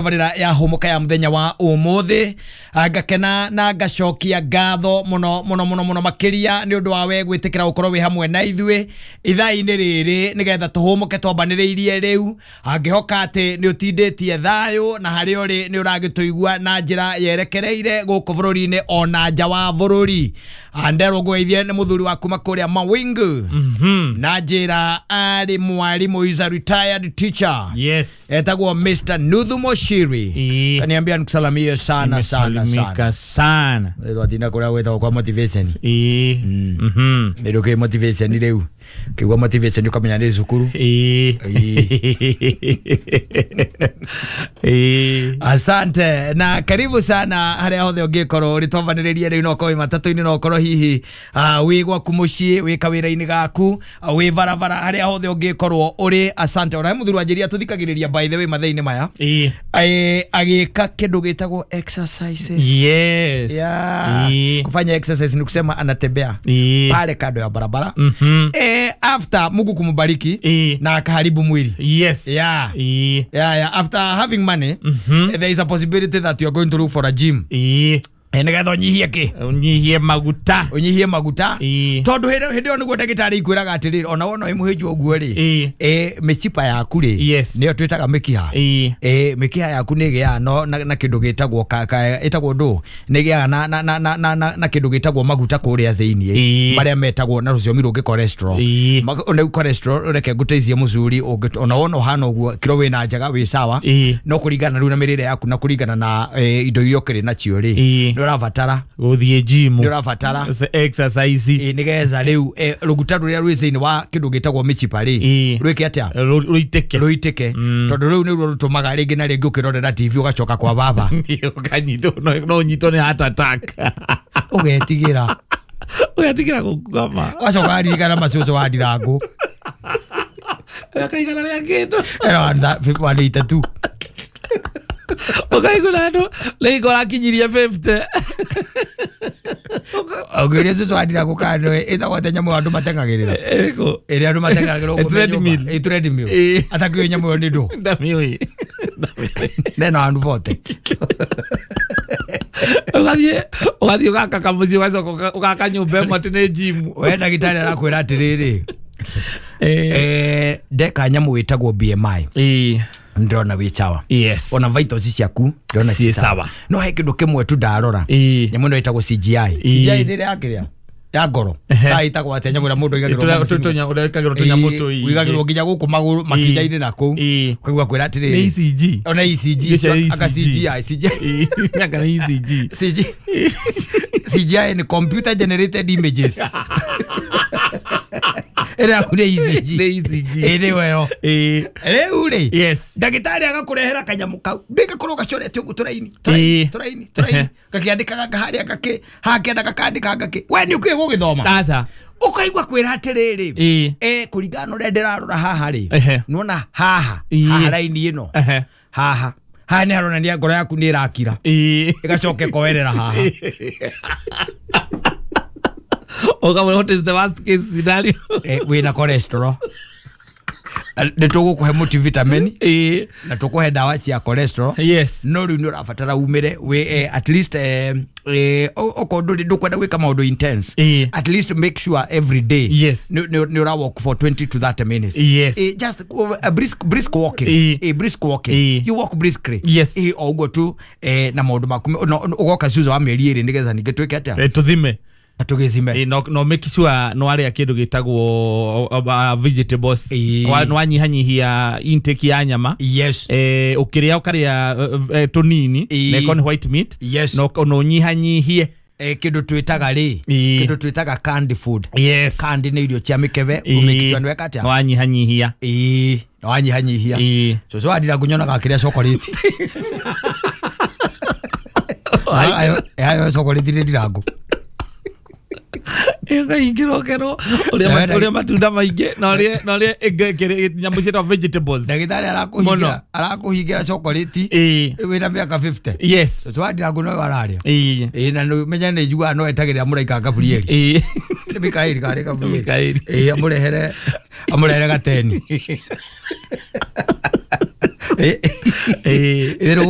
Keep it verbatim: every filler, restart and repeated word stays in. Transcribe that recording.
Tabarĩra ya hũmũka ya mũthenya wa ũmũthĩ ngakena na ngacokia ngatho mũno mũno mũno mũno makĩria nĩ ũndũ wa we gwĩtĩkĩra gũkorwo wĩ hamwe na ithuĩ ithaa-inĩ rĩrĩ nĩgetha tũhũmũke twambanĩrĩirie rĩu angĩhoka atĩ nĩ ũtindĩtie thayũ na harĩa ũrĩ nĩ ũragĩtũigua na njĩra yerekereire gũkũ bũrũri-inĩ ona nja wa bũrũri. Anderwo ngũgeithie nĩ mũthuri wa kuma kũrĩa Mawingu na njĩra arĩ mwarimũ, is a retired teacher. Yes. Etagwo Mister Nuthu Moshiri. Kaniambia nikusalamie sana sana sana sana. Twatinda kuria gwetagwo kwa motivation. Ĩĩ. Mhm. Nĩ rĩu motivation rĩu. Kĩgwa motivation ukamenya nĩ cukuru. Ĩĩ. Ĩĩ. Asante na karibu sana harĩa hothe ũngĩkorwo ũrĩ twambanĩrĩria rĩu no ũkorwo wĩ matatũ-inĩ no ũkorwo hihi wĩ gwaku mũciĩ wĩ kawĩra-inĩ gaku wĩ barabara harĩa hothe ũngĩkorwo ũrĩ. Asante. Ona he mũthuri wanjĩria tũthikagĩrĩria by the way mathaa-inĩ maya. Ĩĩ. Agĩka kĩndũ gĩtagwo exercises. Yes. Yeah. Kufanya exercise ni kusema anatembea pale kando ya barabara. Mhm. Eh, after Mungu kumubariki e. na akaharibu mwili. Yes. Yeah. E. Yeah, yeah. After having money, mm-hmm. there is a possibility that you are going to look for a gym. E. Nĩgetha ũnyihie kĩ? Ũnyihie maguta. Ũnyihie maguta. E. Tondũ hĩndĩ ĩyo nĩguo ndagĩtarĩ ikwĩraga atĩrĩrĩ ona wona wĩ mũhĩnju ũguo rĩ e. e, mĩcipa yaku rĩ yes. nĩyo twĩtaga mĩkiha. E. E, mĩkiha yaku nĩ ĩgĩaga no, na, na kĩndũ gĩtagwo ĩtagwo ndũ nĩ ĩgĩaga na, na, na, na, na, na, na kĩndũ gĩtagwo maguta kũrĩa thĩiniĩ e. marĩa metagwo na rũthiomi rũngĩ cholesterol. E. Rĩu cholesterol reke ngũteithie mũcuri ona wona ũhana ũguo kiro wĩna njega wĩ sawa e. no kũringana rĩu na mĩrĩre yaku na kũringana na e, indo iria ũkĩrĩ nacio rĩ e. ũrabatara gũthiĩ gym nĩ ũrabatara exercise ĩ nĩgetha rĩu rũguta rũrĩa rwĩ thĩinĩ wa kĩndũ gĩtagwo mĩcipa rĩ rwĩke atĩa rũitĩke rũitĩke tondũ rĩu nĩruo rũtũmaga rĩngĩ na rĩngĩ ũkĩrorera T V ũgacoka kwa baba ũkanyitwo no ũnyitwo nĩ heart attack ũgetigĩra ũgetigĩra gũkama ũgacoka waririkana macũcũ wa ndirangũ akaigana rĩa kĩndũ one eighty two ukaigua andũ rĩngĩ ũrakinyirie fifty ũngĩũria cũcũ wa ndirangũ kana nĩwe ĩtagwo atĩa nyamũ ĩyo andũ mateng'agĩrĩra ĩrĩkũ ĩrĩa andũ mateng'agĩrĩra ũguo me nyũmba ĩ treadmill atakĩũĩ nyamũ ĩyo nĩ ndũ ndamĩũĩ neno andũ bote ũgathiĩ ũgathiĩ ũgaka kamũciĩ ũgacoka ũgaka nyũmba ĩmwe atĩ nĩ gym we ndagĩtarĩ arakwĩra atĩrĩrĩ eh ndeka nyamũ ĩtagwo B M I ĩĩ ndona wĩ sawa. Yes. Ona vitals ciaku ndona ciĩ sawa. No he kĩndũ kĩmwe tu ndarora nyamũ ĩno ĩtagwo C G I. C G I nĩ ĩrĩa yakĩrĩa ya ngoro ta ĩtagwo atĩa nyamũ ĩrĩa mũndũ aigagĩrwo tũnyamũ tũingĩ ũigagĩrwo nginya gũkũ magũrũ makinya-inĩ na kũu ũkaigua kwĩra atĩrĩrĩ nĩ E C G ona E C G aka C G I C G I aka E C G C G C G I ni computer generated images ĩrĩa nĩ E C G nĩ E C G ĩrĩ weyo rĩu rĩ yes ndagĩtarĩ agakũrehera kanyamũ kau ndĩgakorwo gacorete ũguo tũraini tũraini tũraini tũraini gakĩandĩkaga harĩa gakĩ hakĩenda gakandĩka gakĩ we nĩ ũkĩũĩ gũgĩthoma aca ũkaigua kwĩra atĩrĩrĩ eh kũringana na ũrĩa ndĩrarora haha rĩ nĩwona haha haha raini ĩno haha haha nĩ haronania ngoro yaku nĩ ĩrakira ĩgacoka ĩkoerera haha. Oga, what is the worst case scenario? Eh, wĩna cholesterol. Nĩ tũgũkũhe multivitamin eh na tũkũhe ndawa cia cholesterol. Yes. No rĩu nĩ ũrabatara umĩre wĩ eh, at least eh, eh, okorwo ndũrĩ ndũkwenda gwĩka maũndũ intense eh. At least make sure every day yes nĩ nĩ ũra walk for twenty to thirty minutes. Yes. Eh, just a brisk brisk walking eh. Eh, brisk walking eh. You walk briskly. Yes. Eh, o ũguo tu eh, na maũndũ maku ũgoka cuza wa mĩeri ĩrĩ nĩgetha ningĩ twĩke atĩa eh, tũthime atugizime eh, no no make sure no aria kindu gitagwo uh, vegetables e. no anyihanyihia intake ya nyama. Yes. Eh ukiria ukaria uh, tunini e. na iko white meat. Yes. No no nyihanyihie eh kindu twitaga ri kindu twitaga canned food. Yes. Canned nĩ irio cia mikebe umikichwa nweka atia no anyihanyihia eh no anyihanyihia eh so so adira kunyonaga kiria chocolate ayo ayo chocolate ri ndirangu ĩkaingĩrwo kerwo ũrĩa matunda maingĩ na ũrĩa na ũrĩa nyamũ ciĩtagwo vegetables ndagĩtarĩ arakũhingĩra arakũhingĩra chocolate wĩna mĩaka fifty. Yes. Twandirangu no ararĩa ĩĩ na menya nĩ njiguaga no etagĩrĩra mũraika Gabrieli ĩĩ Mikaeli karĩ Gabrieli ĩĩ amũrehere amũrehere gateni Eh, Ĩĩ. itherũ.